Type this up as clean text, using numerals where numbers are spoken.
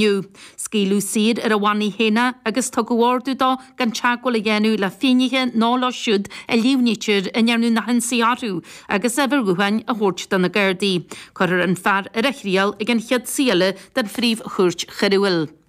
inniu. Scaoileadh saor ar a bhannaí féin é agus tugadh ordú dó gan teagmháil a dhéanamh le finnéithe ná leo siúd a líomhnaítear a ndearnadh na hionsaithe orthu agus a uimhir ghutháin a thabhairt do na Gardaí. Cuirfear an fear ar a thriail ag an chéad suí eile den Phríomh-Chúirt Choiriúil.